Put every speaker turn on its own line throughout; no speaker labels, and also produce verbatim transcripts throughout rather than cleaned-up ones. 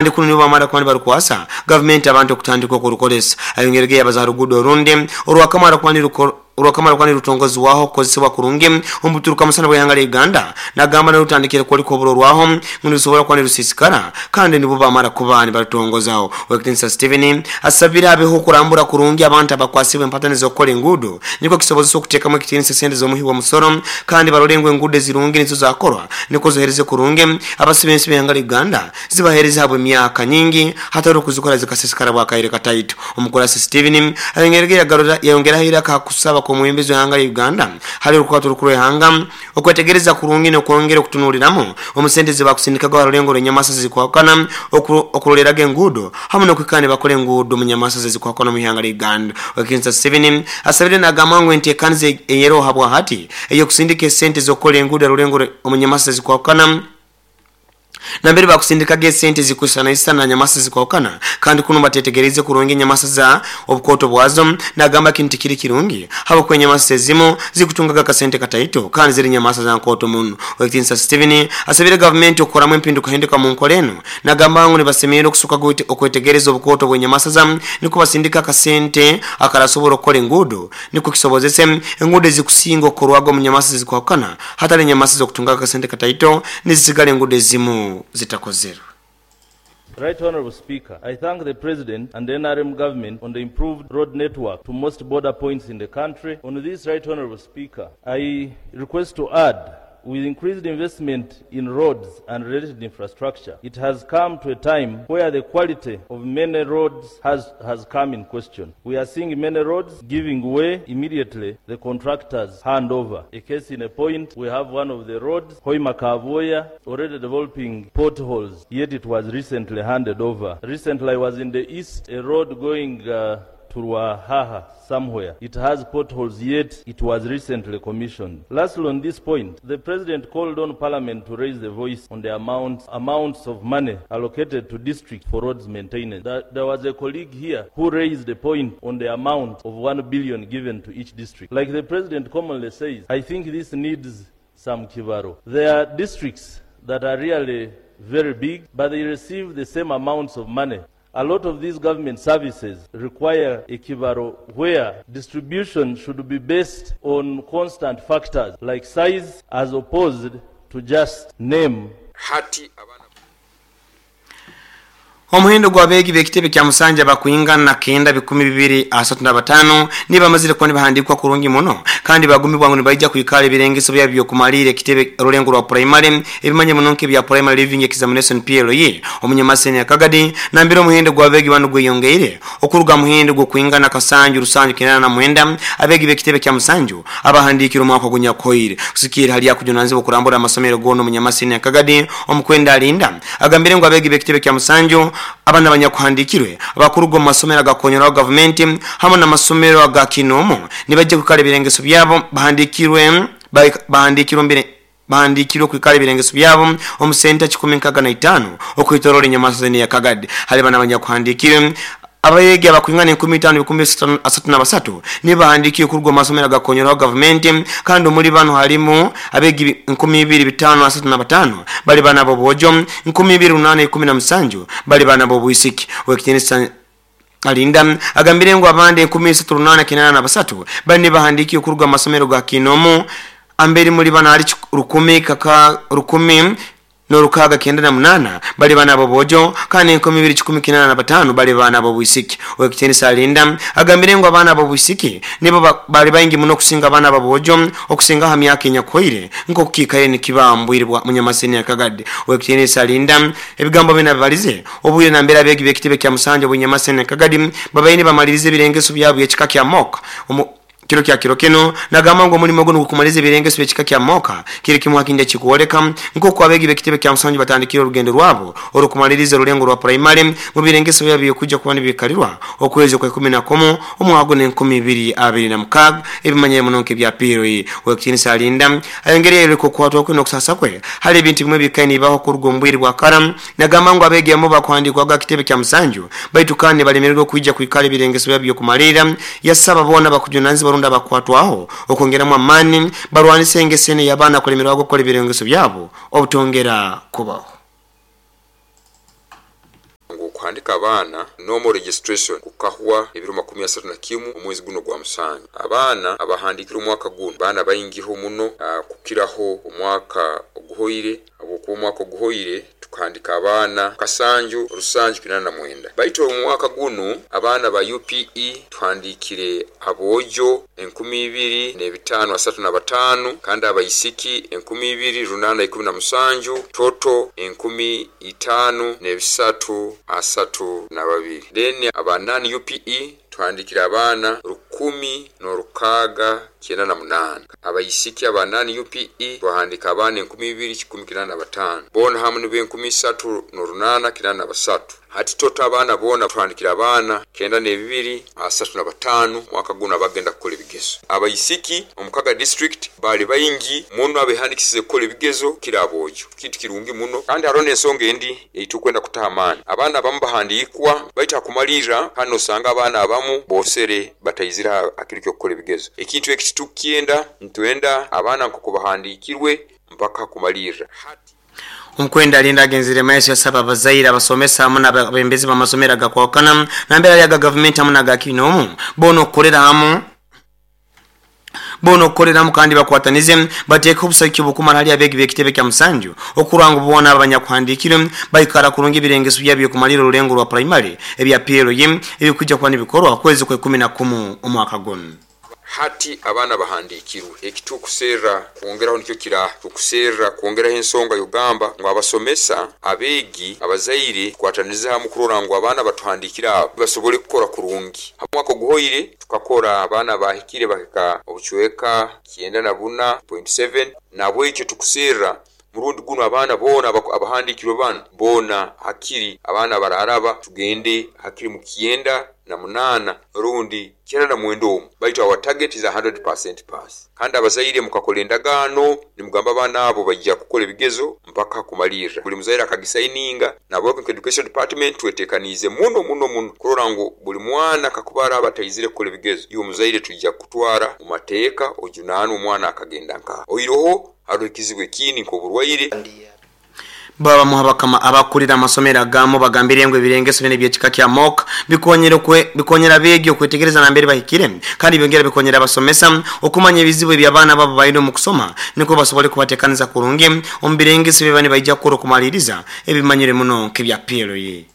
Kandi kuno nibo bamara kuba nibarukwasa gavumenti abantu okutandika okurukoresa. Ayongerege yabaza rugudo orundi orwakamara kuba orwakamara kuba nirutongozibwaho okukozesebwa kurungi omubuturuka musana bw'ihanga lya Uganda, nagamba nirutandikire kwoleka oburorwaho ngu nirusobora kuba nirusiisikara kandi nibo bamara kuba nibarutongozaho. Owekitinisa Steven asabire abeho okurambura kurungi abantu abakwasibwe empatani z'okukora enguudo, nikwo kisobozesa okuteekamu ekitiinisa esente z'omuhi w'omusoro, kandi barole ngu enguudo ezirungi nizo zakorwa nikwo zohereze kurungi abasiba ensi b'ihanga lya Uganda zibahereze habw'emyaka nyingi hatari okuzikora zikasiisikara bwakaire kataito. Omukurasi Steven ayongerege yayongeraho iraka hakusaba kw'omwebembezi w'ihanga lya Uganda hali orukwato orukuru rw'ihanga okwetegereza kurungi n'okwongera okutunuuliramu omu sente zibakusindikaga ha rulengo rw'enyamasa ezikwahukana okuroleraga enguudo hamu n'okwikara nibakora enguudo omu nyamasa ezikwahukana omu ihanga lya Uganda. Owekitinisa Steven asabire nagamba ngu enteekaniza eyeroho habwahati ey'okusindika esente z'okukora enguudo ha rulengo omu nyamasa ezikwahukana nambere bakusindikaga esente zikwisanaisana na nyamasa zikwahukana kandi kuno batetegereze kurungi enyamasa za obukooto bwazo, nagamba kintu tikiri kirungi habwokuba enyamasa ezimu zikutungaga akasente kataito kandi ziri nyamasa za nkooto muno. Owekitinisa Steven asabire gavumenti okukoramu empindukahinduka mu nkora enu, nagamba ngu nibasemerire okusuka okwetegereza obukooto bw'enyamasa za nikwo basindika akasente akarasobora okukora enguudo nikwo kisobozese enguudo ezikusinga okukorwaga omu nyamasa ezikwahukana hatali enyamasa z'okutungaga akasente kataito nizisigara enguudo ezimu zitakozerwe.
Right Honorable Speaker, I thank the President and the N R M government on the improved road network to most border points in the country. On this, Right Honorable Speaker, I request to add, with increased investment in roads and related infrastructure, it has come to a time where the quality of many roads has, has come in question. We are seeing many roads giving way immediately the contractors hand over. A case in a point, we have one of the roads, Hoima Kavoya, already developing potholes, yet it was recently handed over. Recently I was in the east, a road going uh, to Ruahaha somewhere. It has potholes, yet it was recently commissioned. Lastly, on this point, the President called on Parliament to raise the voice on the amount, amounts of money allocated to districts for roads maintenance. There, there was a colleague here who raised the point on the amount of one billion given to each district. Like the President commonly says, I think this needs some kibaro. There are districts that are really very big, but they receive the same amounts of money. A lot of these government services require a kibaro where distribution should be based on constant factors like size as opposed to just name.
Hati abana
Omuhendo gw'abeegi b'ekitebe kya Musanja bakwingana kenda bikumi bibiri asatu na batano nibamazire kuba nibahandikwa kurungi muno kandi bagumibwa ngu nibaija kwikara ebirengeso byabo by'okumalira ekitebe orulengo rwa primary ebimanye muno nk'ebya primary living examination P L E omunyamaseni ya Kagadi nambere omuhendo gw'abeegi bano gweyongeire okuruga muhendo gw'okwingana kasanju rusanju kinana na mwenda abeegi b'ekitebe kya Musanju abahandikire omwaka gunyakoire kusikira hali yakujunanizibwa okurambura amasomero gono omunyamaseni ya Kagadi omukwenda alinda agambire ngu abeegi b'ekitebe kya Musanju abana abanyakuhandikirwe abakuruga mu masomero agakonyeraho gavumenti hamwe n'amasomero aga kinomo nibajja kwikara ebirengeso byabo bahandikirwe bahandikirwe mbere bahandikirwe kwikara ebirengeso byabo omu senta kikumi nkaga na itaano okwitorora enyamasa ya Kagadi. Hali bana abanyakuhandikirwe abayegi abakwingana enkumi itaano bikumi asatu na basatu nibahandikiwe kuruga mu masomero agakonyeraho gavumenti kandi omuri bano harimu abegi enkumi ibiri bitano asatu na batano bali bana bobojo enkumi ibiri runana ikumi na musanju bali bana bobwisiki. Owekitinisa Alinda agambire ngu abandi enkumi isatu runana kinana na basatu bali nibahandikiwe kuruga mu masomero ga kinomo amberi muri bana hari rukumi kaka rukumi norukaga kenda na munana bali bana bobojo kandi enkumi ibiri kikumi kinana na batano bali bana bobwisiki. Owekitinisa Alinda agambire ngu abana bobwisiki nibo bali baingi muno okusinga abana babojo okusinga ha myaka enyakoire nk'okukikaire nikibambwirwa munyamaseni ya Kagadi. Owekitinisa Alinda ebigambo bina bibalize obwire nambere abeegi b'ekitebe kya Musanja bunyamaseni ya Kagadi babaine bamalirize ebirengeso byabo ekika kya moka kiro kya kiro kino nagamba ngo omulimo guno gukumaliza ebirengeso by'ekika kya moka kiri kimwe hakinja kikuoleka nk'oku abeegi b'ekitebe kya Musanju batandikire orugendo rwabo orukumaliriza orulengo rwa primary mu birengeso byabo byokujja kuba nibikarirwa okwezi kwa ikumi na kumu omwaka guno enkumi ibiri abiri na mukaaga ebimanyire muno nk'ebya P L E. Owekitinisa Alinda ayongereye okukwatwa kwe n'okusasa kwe hali ebintu bimwe bikaine bibaho kuruga omu bwire bwa kara nagamba ngu abeegi abamu bakuhandikwaga kitebe kya Musanju baitu kandi balemererwa okwija kwikara ebirengeso byabo by'okumalirira. Yasaba boona bakujunanizibwa baronda bakwatwaho okongeramu amaani barwanise engesene y'abaana kulemererwa gukora ebirengeso byabo obutongera kubaho.
Okuhandika abaana normal registration kukahwa ebiro makumi asatu na kimu omwezi guno gwa musanju. Abaana abahandikire omwaka guno baana baingiho muno uh, kukiraho omwaka oguhoire, habwokuba omwaka oguhoire tukahandika abaana kasanju rusanju kinana na mwenda. Baitu omwaka guno abaana ba U P E tuhandikire abojo enkumi ibiri n'ebitaano asatu na bataano, kandi abaisiki enkumi ibiri runana ikumi na musanju, toto enkumi itaano n'ebisatu asatu na babiri. Then aba non U P E tuhandikire abaana rukumi n'orukaaga kyenda na munaana. Abaisiki aba non U P E twahandika abaana enkumi ibiri kikumi kinana na bataano, boona hamu nibo enkumi isatu n'orunana kinana na basatu. Hati toto abaana boona tuhandikira abaana kenda n'ebibiri asatu na bataano mwaka guno abagenda kukola ebigezo. Abaisiki omukaga district bali baingi muno abehandikisize kukola ebigezo kira abojo, kintu kirungi muno. Kandi hariho n'ensonga endi eitukwenda kutaha amaani, abaana abamu bahandikwa baitu hakumalirra kandi osanga abaana abamu bosere bataizira hakiro ky'okukola ebigezo. Ekintu eki titukyenda, nitwenda abaana nk'oku bahandikirwe mpaka kumalirra.
Omukwenda alinda agenzire maiso yasaba abazaire abasomesa hamu n'abebembezi b'amasomero agakwakana nambera yaga gavumenti hamu n'agakinomu boona okukolera hamu boona okukolera hamu kandi bakwatanize bateeke obusagiki obukumara hali abeegi b'ekitebe kya musanju okuranga boona abanyakuhandikire baikara kurungi ebirengeso byabo by'okumalira orulengo rwa primary ebya P L E ebikwijja kuba nibikorwa kwezi kwa ikumi na kumu omwaka guno.
Hati abaana bahandikirwe ekitukuserra kwongeraho nikyo kira tukuserra kwongeraho ensonga yogamba ngu abasomesa abeegi abazaire kwataniza hamu kurora ngu abaana batuhandikira abo basobole kukora kurungi. Hamwaka oguhoire tukakora abaana bahikire bahika obucweka kyenda na buna point seven, nabwekyo tukuserra murundi guno abaana boona abahandikirwe bano boona hakiri abaana bararaba tugende hakiri mu kyenda na munana rundi kyenda na mwenda omu, baitu our target is one hundred percent pass. Kandi abazaire mukakola endagaano nimugamba abaana abo bajja kukola ebigezo mpaka kumalirra, buli muzaire akagisaininga. Nabo education department twetekaniize muno muno muno kurora ngu buli mwana kakuba araba ataizire kukola ebigezo, iwe muzaire tujja kutwara mu mateeka ojunaanwe omwana akagenda nkaha oiroho hariho ekizibu ekindi nk'oburwaire.
Baba muhabakama abakulira amasomero agamu bagambire ngu ebirengeso bine by'ekika kya mock bikonyera kwe bikonyera abeegi okwetegereza nambere bahikire, kandi byongera bikonyera abasomesa okumanya ebizibu eby'abaana babo balina omu kusoma niko basobole kubateekaniza kurungi omu birengeso bye bane baija kukora okumaliriza ebimanyire muno nk'ebya P L E.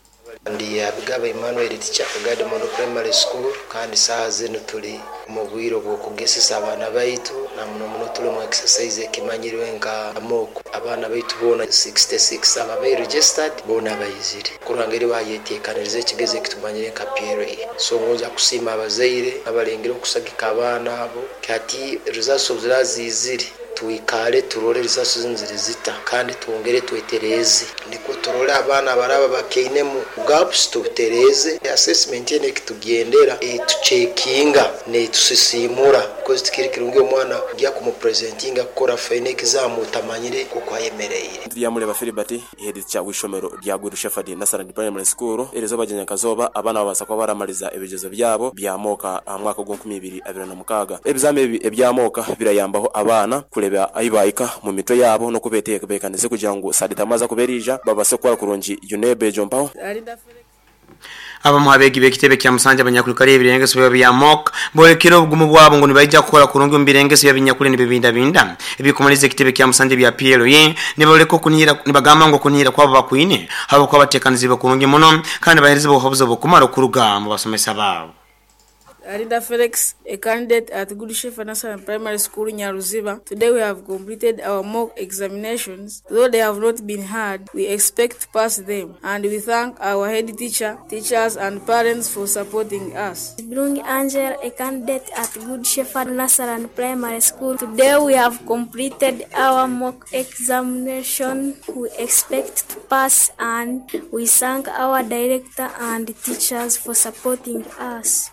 Ndi Abigaba Emmanuel teacher Kagadi Model Primary School, kandi saaha zinu tuli mu bwire obw'okugesesa abaana baitu na muno muno tuli mu exercise ekimanyirwe nka mock. Abaana baitu boona sixty-six ababaire registered boona bayizire kuranga eri bayeteekaniriza ekigezo ekitumanyire nka P L E. So ngonza kusiima abazaire abalengere okusagika abaana abo kati results zizire tuikale turole results zinu ziri zita kandi twongere twetereze niko turole abaana baraba bakeinemu gaps tutereze assessment yene kitugendera etuchekinga ne tusisimura because tikiri kirungi omwana gya kumupresentinga kukora final exam utamanyire kuko ayemereire.
Lyamuleba Philibert head cha wishomero lya Good Shepherd National Primary School erizo bajanya kazoba abana babasa kwa baramaliza ebigezo byabo bya moka mwaka gw'enkumi ibiri abiri na mukaga. Ebizame ebi ebya moka birayambaho abana kuleba ayibayika mu mitwe yabo no kubeteekanize kugira ngu saditamaza kuberija babase kwa kurungi UNEB jompaho.
Abamu abeegi b'ekitebe kya musanja abanyakulikali ebirengeso bya bya mock bolekera obugumu bwabo ngu nibaija kukora kurungi omu birengeso bya binyakuli nibibindabinda ebikumaliza ekitebe kya musanja bya P L E niboleka okunihira nibagamba ngu okunihira kwabo bakwine habwokuba bateekanizibwe kurungi muno kandi baheerezibwe obuhabuzi obukumara okuruga mu basomesa baabo.
Arinda Felix, a candidate at Good Shepherd National Primary School in Nyaruziba. Today we have completed our mock examinations. Though they have not been hard, we expect to pass them. And we thank our head teacher, teachers and parents for supporting us.
Brung Angel, a candidate at Good Shepherd National Primary School. Today we have completed our mock examination. We expect to pass and we thank our director and teachers for supporting us.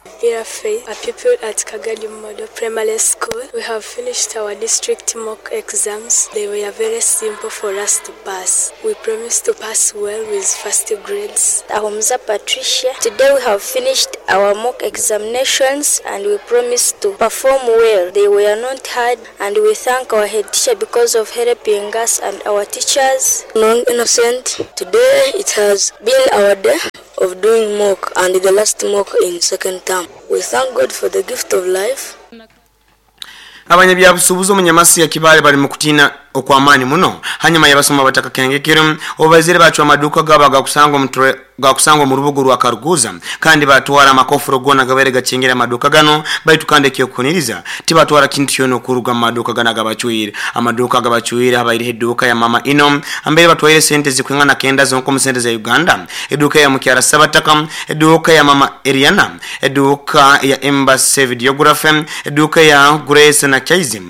A pupil at Kagadi Model Primary School. We have finished our district mock exams. They were very simple for us to pass. We promise to pass well with first grades.
Ahumza Patricia. Today we have finished our mock examinations and we promise to perform well. They were not hard and we thank our head teacher because of helping us and our teachers.
Non innocent. Today it has been our day
of doing mock and the last mock in second term. We thank God for the gift of life.
Abanyabyabusubuzi omunyamasi ya Kibale bali mukutina okwamani muno hanyuma yabasoma bataka kengekero obazire bacwa amaduka gaba gakusanga omutwe gakusanga mu rubugu rwa Karuguza kandi batwara amakofuro gona gabere gakingira amaduka gano baitu kandi kyokuniriza tibatwara kintu kyono kuruga amaduka gana gabacwire amaduka gabacwire abaire eduka ya mama ino ambere batwaire sente zikwingana kenda zonko mu sente za Uganda, eduka ya mukyara Sabataka, eduka ya mama Eriana, eduka ya Embassy Videography, eduka ya Grace na Chaizi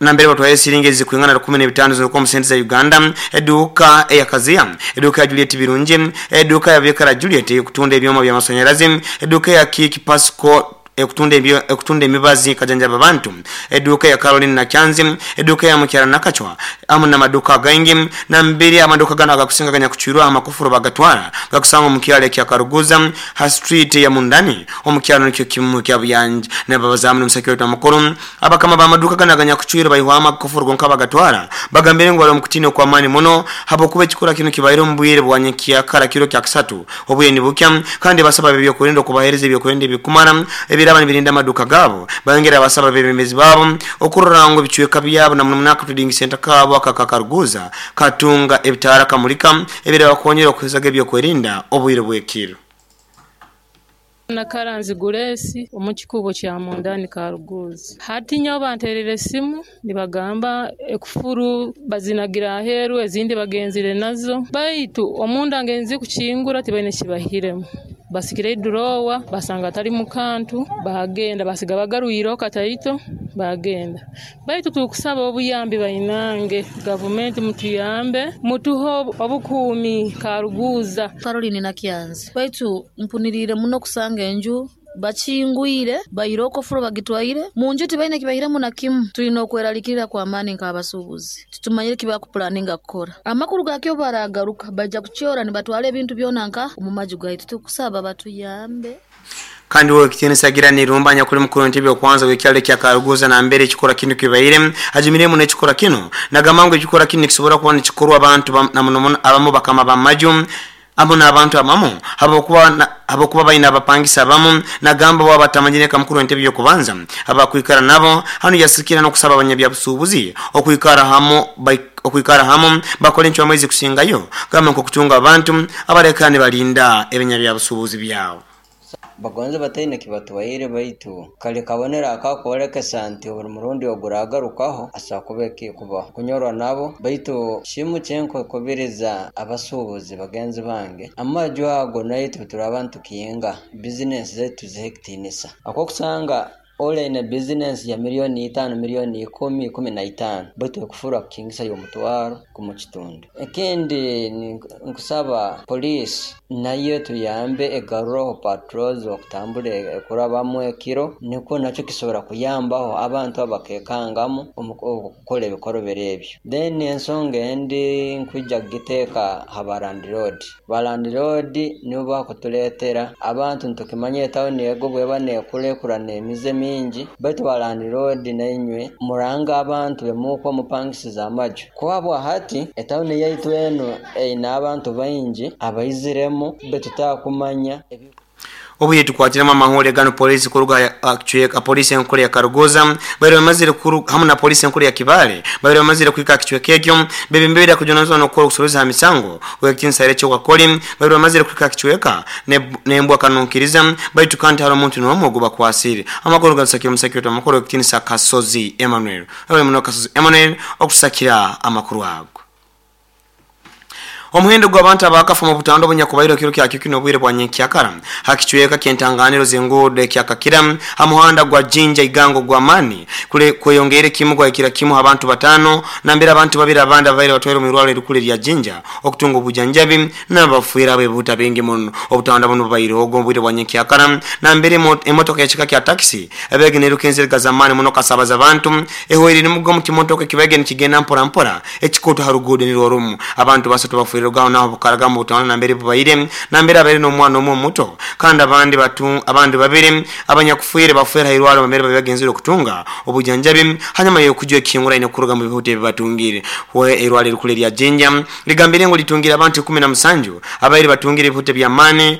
nambere batwaye siringi zikwingana kumi na bitano z'uko mu sente za Uganda, eduka ya Kazia, eduka ya Juliet Birungi, eduka ya Bekara Juliet kutunda ebyoma bya masanyalazi, eduka ya Kiki Pasco ekutunda ebyo ekutunda emibazi kajanja babantu, eduka ya Caroline na Kyanzi, eduka ya Mukyara Nakachwa amu na maduka gangi na mbiri amaduka gana agakusinga ganya kuchirwa amakufuru bagatwara gakusanga mu kyalo kya Karuguza ha street ya Mundani omukyalo nikyo kimu kya Buyanja na babazamu n'omusakyo wa mukuru abakama ba maduka gana ganya kuchwira bayihwa amakufuru gonka bagatwara bagambire ngo bali mukutino kwa mani muno habo kuba ekikora kino kibaire omubwire bwanyikia kara kiro kya kisatu obuye ni bukya kandi basaba bibyo kurinda kubahereza ebyo kurinda bikumara ebiraba nibirinda amaduka gabo bayongera abasaba bebembezi babo okurora ngo bicweka byabo na munaka trading center kabo akakakaruguza katunga ebitara kamulika ebiraba konyera okuhezaga ebyo kwerinda obwire bwekiro.
Nakaranzi Guresi omukikubo kya Mundani Karuguza hati nyo banterere simu nibagamba ekufuru bazinagira aheru ezindi bagenzire nazo baitu omunda ngenzi kuchingura tibaine kibahiremu basikire durowa basanga atari mukantu bagenda basiga bagarwiro kataito bagenda baitu tukusaba obuyambi bainange government mutuyambe mutuho obukuumi Karuguza.
Caroline Nakyanzi baitu mpunirire muno kusanga enju bachingwire bayiroko furo bagitwaire munju tibaine kibahiremu na kimu tulina okweralikirira kwa amani nk'abasuubuzi titumanyire kibakupulaninga kukora amakuru gakyo baragaruka baja kukyora nibatwala ebintu byona nka omu maju gaitu tukusaba batuyambe.
Kandi wewe kitini sagira ni rumba nyakuri mukuru ntebe okwanza wekyalo kya Karuguza na mbere ekikora kino kibaire ajimire mu ekikora kino nagamango ekikora kino kisobora kuba nikikorwa abantu na muno abamu bakama bamaju abo n'abantu abamu habokuba habokuba bayina abapangisa abamu nagamba baba batamanyire kamukuru ntebe yokubanza abakwikara nabo hano yasikira no kusaba abanyabyabusubuzi okwikara hamo okwikara hamo bakole enchwa mwezi kusingayo kama nko kutunga abantu abarekane balinda ebinyabyabusubuzi byabo.
Bagonze bataine kibatwaire baitu kali kabonera akakwolekesa nti buli murundi oguragarukaho asakuba ekikubaho kunyorwa nabo baitu kimu kyenkukubiriza abasuubuzi bagenzi bange amaju ago naitu turaba ntukiyenga bizinesi zaitu zihe ekitiinisa akokusanga ole business ya milioni itano milioni ikumi ikumi na itano baitu ekufura kukingisa y'omutwaro kumu kitundu. Ekindi nkusaba poliisi nayo tuyambe egaruraho patrols okutambura ekurabamu ekiro nikwo nakyo kisobora kuyambaho abantu abakekangamu okukora ebikorobero ebyo. Then ensonga endi nkwija kugiteeka ha balandlord balandlord nibo bakutuleetera abantu ntukimanya etawuni ego bweba neekurekura n'emize mingi baitu balandlord nainywe muranga abantu bemuko mupangisiza amaju kuba hati etawuni yaitu eno eine abantu baingi abaiziremu betutakumanya.
Obuye tukwatira amahore gano polisi kuruga kichweka polisi enkuru ya Karuguza bari bamazire kuru hamu na polisi enkuru ya Kibale bari bamazire kwika kichweka ekyo bebe kujunazwa no kukora kusuruza misango wekinsare cyo wakoli bari bamazire kwika kichweka nembwa kanunkiriza baitu kandi hari omuntu n'omwe oguba kwasiri amakuru gasakira omusakiro amakuru ekitinisa Kasozi Emmanuel abali muno Kasozi Emmanuel okusakira amakuru ago. Omuhendo gw'abantu abakafa mu butando bunyakubairo kiro kya kikino obwire bwa nyenkyakara hakichweka kentanganiro zengudo kyakakira amuhanda gwa Jinja Igango gwa mani kule kweyongere kimu gwa kira kimu abantu batano na mbere abantu babiri abandi abaire batwere mu irwalo erikule lya Jinja okutunga obujanjabi n'abafuira abebuta bengi muno obutanda buno bubaire ogwo obwire bwa nyenkyakara na mbere emotoka ekika kya taxi ebege nerukenzerega zamani muno kasabaza abantu ehweri nimugo mu kimotoka kibege nikigenda mpora mpora ekikoto harugudo nirworumu abantu basatu bafuira rogaho naho bukaraga mu butano na mbere bubaire na mbere abere no mwana omwe muto kandi abandi batu abandi babiri abanyakufuire bafuira irwalo bamere babagenzire okutunga obujanjabi hanyuma yokujwe kingura ine kuruga mu bihute bibatungire we irwalo rikule lya Jinja ligambire ngo litungira abantu kumi na musanju abaire batungire bihute bya mane.